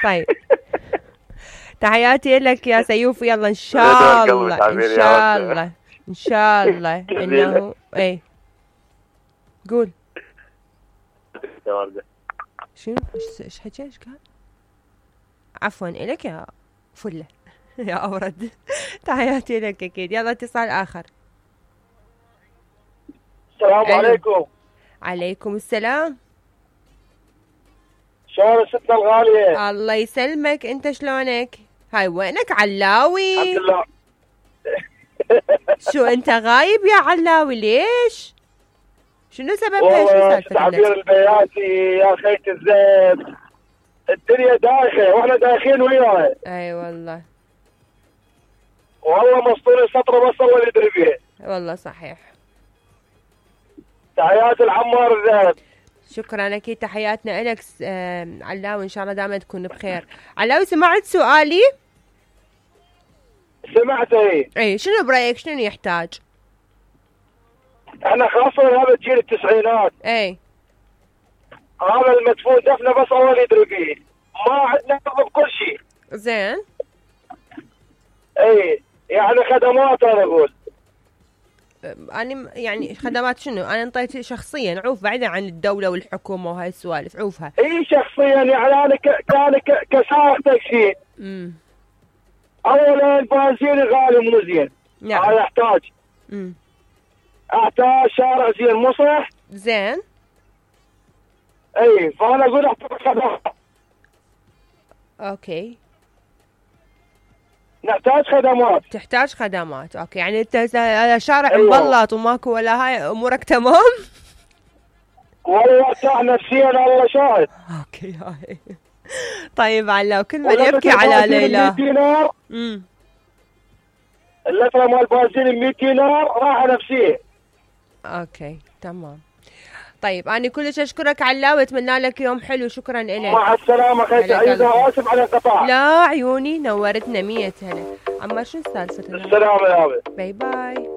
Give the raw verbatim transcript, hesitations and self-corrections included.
طيب تحياتي لك يا سيوف، يلا ان شاء الله ان شاء الله ان شاء الله انه اي قول شنو ايش حكى ايش قال؟ عفوا الك يا فله يا اورد. تحياتي لك اكيد. يلا اتصال اخر. السلام عليكم. عليكم السلام. شلون ستنا الغالية؟ الله يسلمك، انت شلونك؟ هاي وينك علاوي؟ الحمد لله. شو انت غايب يا علاوي ليش؟ شنو سببها؟ شو والله سالفتك؟ تعبير البياتي يا خيت الزين، الدنيا دايخة واحنا دايخين وياها. اي والله والله مسطول السطرة بس الله يدري بيها. والله صحيح. تحيات العمار الذهب. شكرا اكيد تحياتنا لك علاوي، ان شاء الله دائما تكون بخير. علاوي سمعت سؤالي؟ سمعت اي. اي شنو برايك شنو يحتاج؟ احنا خاصة هذا جيل التسعينات. اي هذا المدفون دفنه بس الله يدري بيه، ما عندنا بكل شيء. زين. اي يعني خدمات انا اقول. أنا يعني خدمات شنو؟ أنا انطيت شخصيا عوف بعيدا عن الدولة والحكومة وهاي السوالف عوفها. اي شخصيا يعني أنا كان كسائق تاكسي. امم أولا البنزين غالي مو زين. نعم. هذا يحتاج. امم أحتاج شارع زين مو صح؟ زين. اي فأنا أقول أحتاج خدمات. أوكي. نحتاج خدمات. تحتاج خدمات، اوكي يعني انت شارع أيوة. مبلط وماكو ولا هاي امورك تمام؟ والله ارتاح نفسيا الله شاهد. اوكي هاي. طيب علاء كل من يبكي على ليلى. مية دينار. امم اللترة مال بنزين مية دينار راحة نفسية. اوكي تمام. طيب أنا كلش أشكرك علاء وأتمنى لك يوم حلو. شكرا لك. مع السلامة خيتي عيدة، آسف على القطاع. لا عيوني نورتنا مية هلا. عمار شو سالفة؟ السلامة يا أبي. باي باي.